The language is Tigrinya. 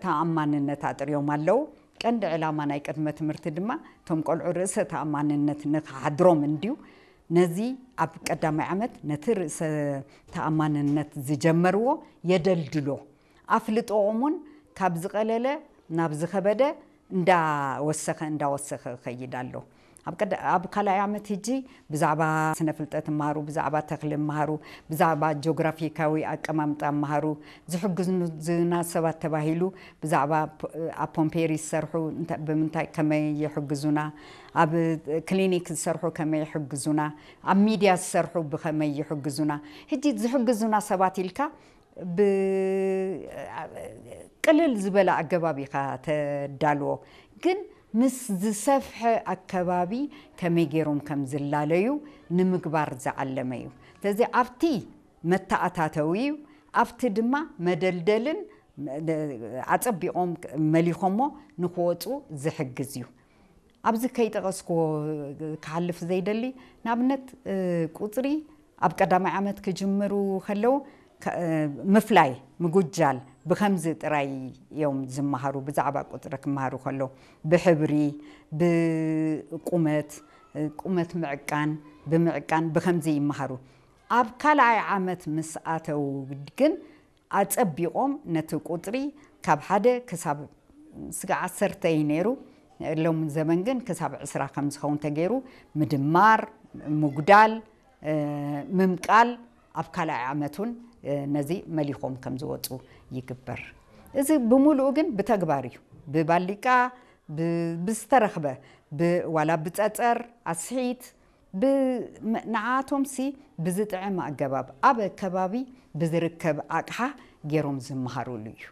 ተኣማንነት ኣጥርዮም ኣለዉ። ቀንዲ ዕላማ ናይ ቅድመ ትምህርቲ ድማ እቶም ቆልዑ ርእሰ ተኣማንነት ንክሓድሮም እንድዩ። ነዚ ኣብ ቀዳማይ ዓመት ነቲ ርእሰ ተኣማንነት ዝጀመርዎ የደልድሎ። ኣፍልጦኦም እውን ካብ ዝቐለለ ናብ ዝኸበደ እንዳወሰኸ እንዳወሰኸ ይኸይድ ኣሎ። ኣብ ቀዳ- ኣብ ካልኣይ ዓመት ሕጂ ብዛዕባ ስነ ፍልጠት እምሃሩ፣ ብዛዕባ ተኽሊ እምሃሩ፣ ብዛዕባ ጂኦግራፊካዊ ኣቀማምጣ እምሃሩ፣ ዝሕግዙና ሰባት ተባሂሉ ብዛዕባ ፖ- ኣብ ፖምፔሪ ዝሰርሑ እንተ- ብምንታይ ከመይ ይሕግዙና፣ ኣብ ክሊኒክ ዝሰርሑ ከመይ ይሕግዙና፣ ኣብ ሚድያ ዝሰርሑ ብኸመይ ይሕግዙና። ሕጂ ዝሕግዙና ሰባት ኢልካ ብ ቅልል ዝበለ ኣገባብ ኢኻ ተዳልዎ፣ ግን ምስ ዝሰፍሐ ኣከባቢ ከመይ ገይሮም ከም ዝላለዩ ንምግባር ዝዓለመ እዩ። ስለዚ ኣብቲ መተኣታተዊ እዩ፣ ኣብቲ ድማ መደልደልን ኣጸቢቖም መሊኾሞ ንክወፁ ዝሕግዝ እዩ። ኣብዚ ከይጠቐስክዎ ክሓልፍ ዘይደሊ፣ ንኣብነት ቁፅሪ ኣብ ቀዳማይ ዓመት ክጅምሩ ከለዉ ምፍላይ ምጉጃል ብከምዚ ጥራይ እዮም ዝመሃሩ። ብዛዕባ ቁፅሪ ክመሃሩ ከለዉ ብሕብሪ፣ ብቁመት፣ ቁመት ምዕቃን፣ ብምዕቃን ብከምዚ ይመሃሩ። ኣብ ካልኣይ ዓመት ምስ ኣተዉ ግን ኣጸቢቖም ነቲ ቁጽሪ ካብ ሓደ ክሳብ ስጋ ዓሰርተ እዩ ነይሩ። ሎም ዘመን ግን ክሳብ ዕስራ ከም ዝኸውን ተገይሩ ምድማር፣ ምጉዳል፣ ምምቃል ኣብ ካልኣይ ዓመት እውን ነዚ መሊኾም ከም ዝወፁ ይግበር። እዚ ብምሉኡ ግን ብተግባር እዩ። ብባሊቃ ብዝተረኽበ ዋላ ብፀፀር ኣስሒት ንዓኣቶም ሲ ብዝጥዕም ኣገባብ ኣብ ከባቢ ብዝርከብ ኣቕሓ ገይሮም ዝመሃሩሉ እዩ።